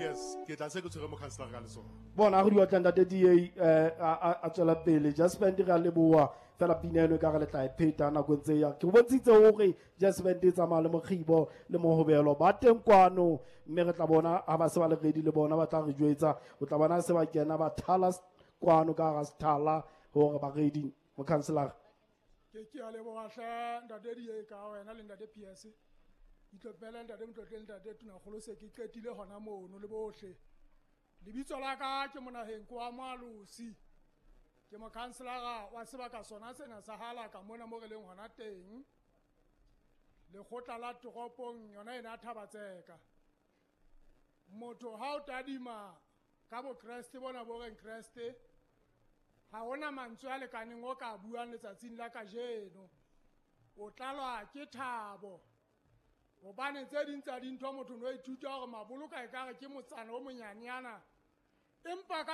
PS, ke tla se ke tshwere mokhanselara ka letsoho. Bona re di otla ntate DA a tswela pele. Just Band re a leboha fela pina eno e ka re le tla e pheta nako e ntse e ya. Ke bontshitse hore Just Band e tsamaya le mokgibo le mohobelo ba teng kwano, mme re tla bona ha ba se ba le ready le bona ba tla re jwetsa. O tla bona se ba kena ba thala kwano ka hara sethala hore ba ready, mokhanselara. Ke a leboha hle ntate DA ka wena le ntate PS. Itlopele ntate Motlotle, ntate Tonakgolo se ke qetile hona mono le bohle. Lebitso la ka ke Monaheng kwa Moalosi. Ke mokhanselara wa sebaka sona sena sa Halaka mona mo re leng hona teng. Lekgotla la toropong yona ena Thabatseka. Motho ha o tadima ka bokreste bona bo reng Kreste, ha hona mantswe a lekaneng o ka buang letsatsing la kajeno. O tlalwa ke thabo. Hobane tse ding tsa dintho motho no ithuta hore maboloka ekare ke motsana o monyanenyana. Empa ka